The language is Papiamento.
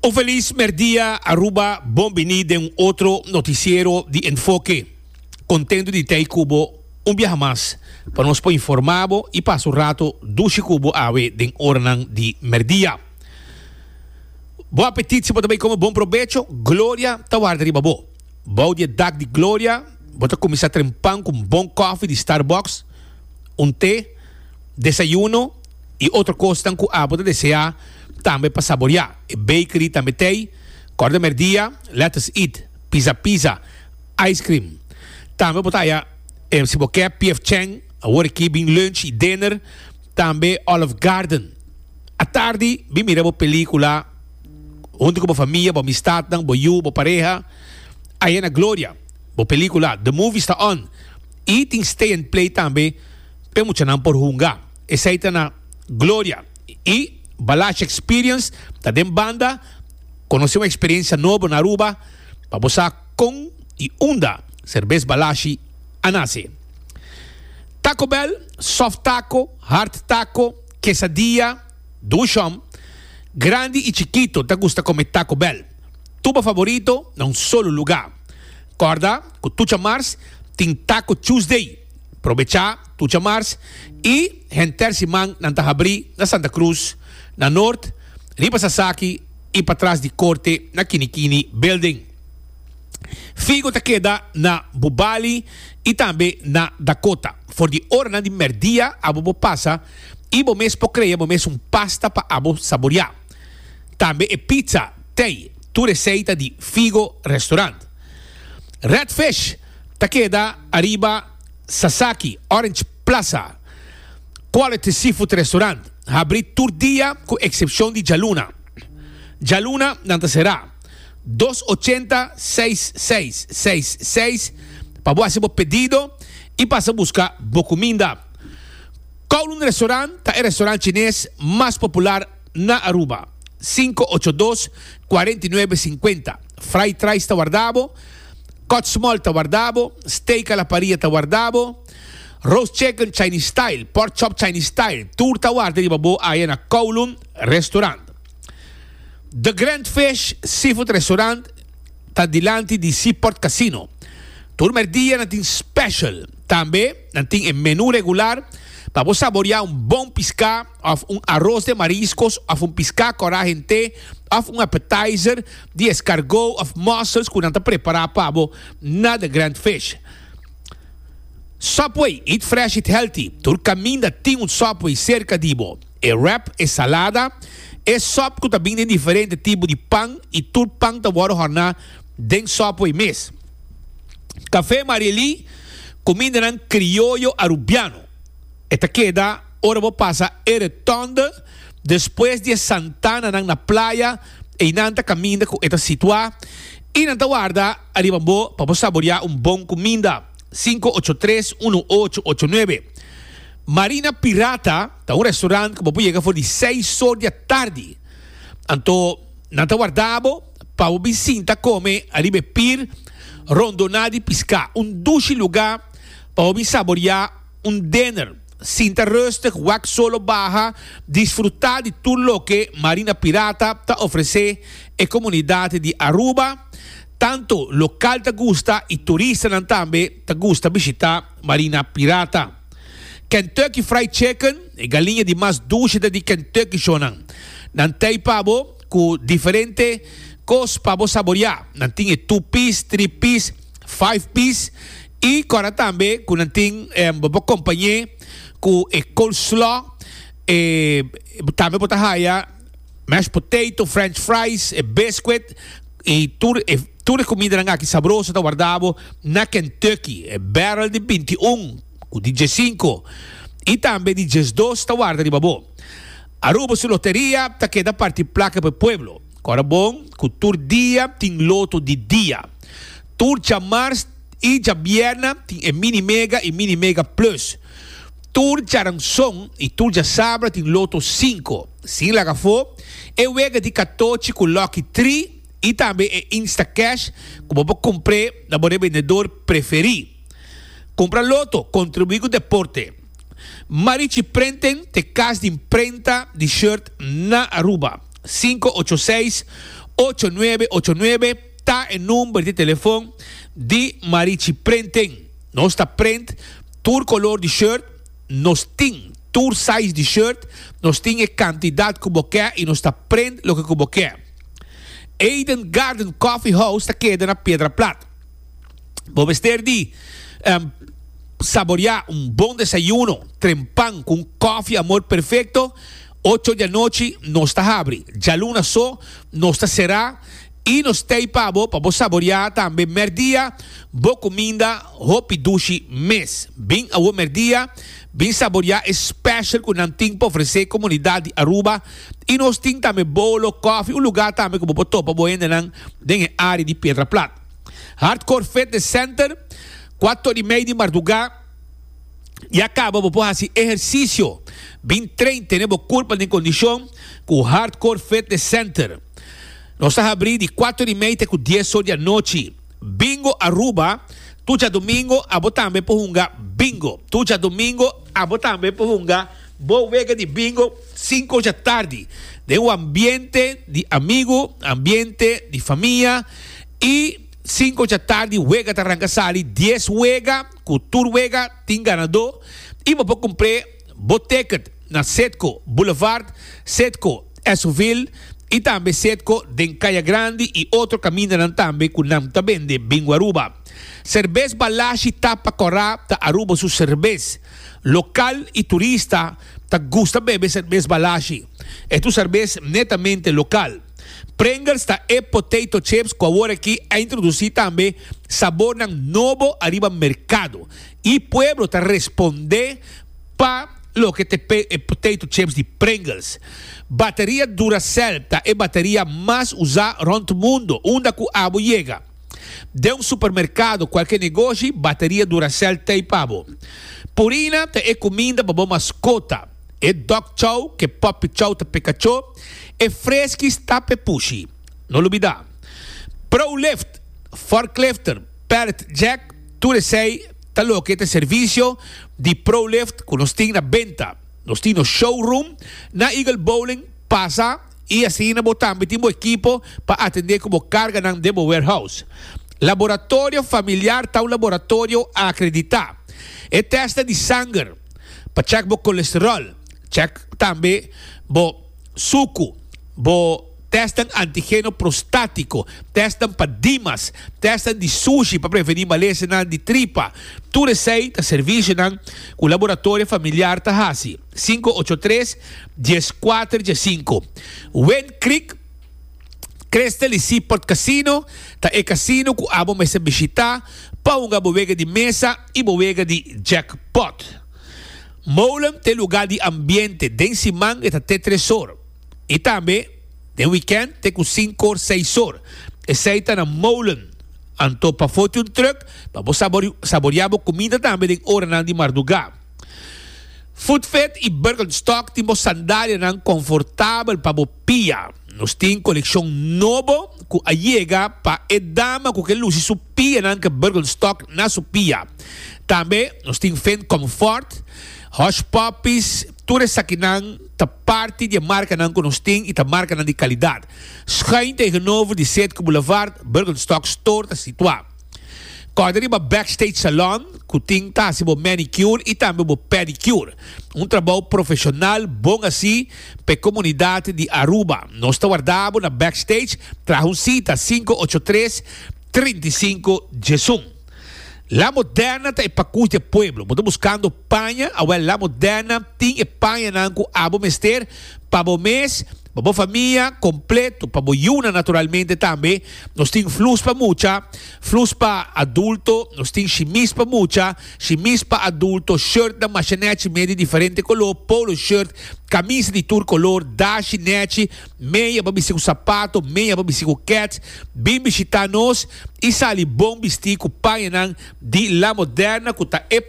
Un felis merdia Aruba, bon bini den un otro noticiero di Enfoke. Contento di tey cu bo un biaha mas pa nos por informa bo y pasa un rato dushi cu bo awe den oranan di merdia. Bon apetit si bo ta bay come bon probecho, Gloria ta warda riba bo. Bou di e dak di Gloria bo ta cuminsa trempan cu un bon koffie di Starbucks, un te, desayuno y otro cosnan cu abo ta desea tambe pa saborea. E bakery tambe t'ey, Corda Merdia, Let Us Eat, Pizza Pizza, Ice Cream. Tambe bo ta haya si bo ke PF Chang, awor aki bin lunch y dinner, tambe Olive Garden. Atardi bin mira bo pelicula hunto cu bo famia, bo amistadnan, bo yu, bo pareha, aya na Gloria. Bo pelicula The Movies ta on y tin stay and play tambe. p'e muchanan por hunga. Esei ta na Gloria. I Balashi Experience ta den banda. Konosé un eksperensia nobo na Aruba pa bo sa kon i unda serbes Balashi a nase. Taco Bell, soft taco, hard taco, quesadilla, dushom, grandi i chikito ta gusta kome Taco Bell. Tur bo favorito na un solo lugá. Kòrda ku tucha mars tin Taco Tuesday. Probechá tucha mars i henter siman nan ta habrí na Santa Cruz, na Noord, riba Sasaki i patras di Korte na Kinikini Building. Figo ta keda na Bubali i tambe na Dakota. For di oranan di mèrdia abo por pasa i bo mes por krea bo mes un pasta pa abo saboriá. Tambe e pizza, tei, tur esei ta di Figo Restaurant. Red Fish ta keda ariba Sasaki, Orange Plaza. Quality Seafood Restaurant habri tur dia ku eksepshon di djaluna. Djaluna nan ta será. Dos ochenta seis seis seis seis pa bo hasi bo pedido i pasa buska bo kuminda. Kowloon Restaurant ta e restaurant chines mas popular na Aruba. Sinku ocho dos, kuarenta i nuebe sinkuenta. Fried rice ta warda bo. Cut small ta warda bo, steak a la parilla ta warda bo, roast chicken Chinese style, pork chop Chinese style, tur ta warda riba bo aya na Kowloon Restaurant. The Grand Fish Seafood Restaurant ta dilanti di Seaport Casino. Tur merdia nan tin special. Tambe nan tin e menu regular pa bo saboria un bon pisca of un arroz de mariscos of un pisca cora hente of un appetizer di escargot of mussels cu nan ta prepara pa bo na The Grand Fish. Subway, eat fresh, eat healthy. Tur caminda tin un Subway cerca di bo. E wrap, e salada, e sop cu ta bin den diferente tipo di pan y tur pan ta wordo horna den Subway mes. Café Mariely, cumindanan crioyo Arubiano. E ta keda ora bo pasa e retonde despues di e santananan na playa, einan ta kaminda ku e ta situá i nan ta warda ariba bo pa bo saboriá un bon kuminda. Sinku ocho tres unu ocho ocho nuebe. Marina Pirata ta un restaurant ku bo por yega for di seis or di atardi. Anto nan ta warda bo pa bo bin sinta kome ariba e pir rondoná di piská. Un dushi lugá pa bo bin saboriá un dinner, sinta rustig, wak solo baha, disfruta di tur loke Marina Pirata ta ofrece e comunidad di Aruba. Tanto local ta gusta y turistanan tambe ta gusta bishita Marina Pirata. Kentucky Fried Chicken, e galiña di mas dushi ta di Kentucky shownan. Nan tei pa bo cu diferente cos pa bo saboria. Nan tin e two piece, three piece, five piece y cora tambe cu nan tin bo por compañe cu e coleslaw e tambe bo ta haya mashed potato, french fries, e biscuit y tur e tur e comidanan aki sabroso ta warda bo na Kentucky. E barrel di 21 cu di diescinco y tambe di diesdos ta warda riba bo. Aruba su loteria ta keda parti placa pa e pueblo. Cora bon cu tur dia tin loto di dia. Tur djamars i djabierna tin e Mini Mega i Mini Mega Plus. Tur djaranson i tur djasabra tin Loto sinku. Sin laga afó e wega di katochi ku Lucky Tree i tambe e Instacash ku bo por kumpr'é na bo rebendedor preferí. Kumpra Loto, kontribuí ku deporte. Marichi Printing t'e kas di imprenta di shirt na Aruba. Sinku ocho seis. 8989 ta e number di telefon di Marichi Printing. Nos ta print tur color di shirt, nos tin tur size di shirt, nos tin e cantidad cu bo ke y nos ta print loke cu bo ke. Eden Garden Coffee House ta keda na Piedra Plat. Bo mester di saborea un bon desayuno, trempan cu un koffie amor perfecto. Ocho di anochi nos ta habri. Djaluna so nos ta sera y nos tey pa bo pa bo saborea tambe merdia bo cuminda hopi dushi mes. Bin awo merdia, bin saborea e special cu nan tin pa ofrece comunidad di Aruba y nos tin tambe bolo, koffie, un lugar tambe cu bo por topa bo hendenan den e area di Piedra Plat. Hardcore Fitness Center, Cuator y mei di marduga ya caba bo por haci ehercicio. Bin train tene bo curpa den condicion cu Hardcore Fitness Center. Nos ta habri di cuator y mei te cu dies or di anochi. Bingo Aruba, Tur djadomingo abo tambe por hunga bingo. Tur djadomingo abo tambe por hunga bo wega di bingo cinco or djatardi den un ambiente di amigo, ambiente di famia y Sinku djatardi wega ta ranka sali dies wega ku tur wega tin ganadó i bo por kumpr'é bo ticket na Citgo Boulevard, Citgo Esoville i tambe Citgo den Kaya Grandi i otro kamindanan tambe ku nan ta bende Bingo Aruba. Serbes Balashi Tapa Kòrá ta Aruba su serbes. Lokal i turista ta gusta bebe serbes Balashi. E ta un serbes netamente lokal. Pringles ta e potato chips cu awor aki a introduci tambe sabornan nobo ariba mercado y pueblo ta responde pa loke ta e potato chips di Pringles. Bateria Duracell ta e bateria mas usa rond mundo unda cu abo yega den un supermercado cualke negoshi bateria Duracell t'ey pa bo. Purina ta e cuminda pa bo mascota. E dog chow ke puppy chow ta pe kachó, e freskis ta pe pushi. No lubidá. Prolift, forklifter, pallet jack, tur esei ta loke ta e servisio di Prolift ku nos tin na benta. Nos tin nos showroom na Eagle Bowling, pasa i asina bo tambe tin bo ekipo pa atendé ku bo karganan den bo warehouse. Laboratorio Familiar ta un laboratorio akreditá. E tèstnan di sanger. pa check bo colesterol, check tambe bo sucu, bo testnan antigeno prostatico, testnan pa dimas, testnan di sushi pa preveni malesanan di tripa. Tur esey ta servicionan cu Laboratorio Familiar ta haci. 583 14 15. Wind Creek. Crystal y Seaport Casino ta e casino cu abo mester bishita pa hunga bo wega di mesa y bo wega di jackpot. Molen ta e lugar di ambiente, den siman e ta te tres or y tambe den weekend te cu cinco or seis or. Esey ta na Molen. Anto pafo tin un truck pa bo saboria bo cuminda tambe den oranan di marduga. Footfit y Birkenstock tin bo sandalianan confortabel pa bo pia. Nos tin coleccion nobo cu a yega pa e dama cu ke luci su pianan ke Birkenstock na su pia. Tambe nos tin Finn Comfort, Hush Puppies, tur esakinan ta parti di e marcanan cu nos tin y ta marcanan di calidad. Schuin tegenover di Citgo Boulevard, Birkenstock Store ta situa. Kòrda riba Backstage Salon ku tin ta hasi bo manicure i tambe bo pedicure. Un trabou profeshonal bon hasi pa e komunidat di Aruba. Nos ta warda bo na Backstage, traha un sita 583 35 11. La Moderna ta e pakus di e pueblo. Bo ta buskando paña? Awel La Moderna tin e pañanan ku abo mester pa bo mes, pa bo famia kompleto, pa bo yunan naturalmente tambe. Nos tin flus pa mucha, flus pa adulto, nos tin shimis pa mucha, shimis pa adulto, shirtnan masha nechi mei di diferente color, polo shirt, camisa di tur color, dashi nechi, meya pa bisti cu sapato, meya pa bisti cu kets. Bin bishita nos y sali bon bisti cu pañanan di La Moderna cu ta e.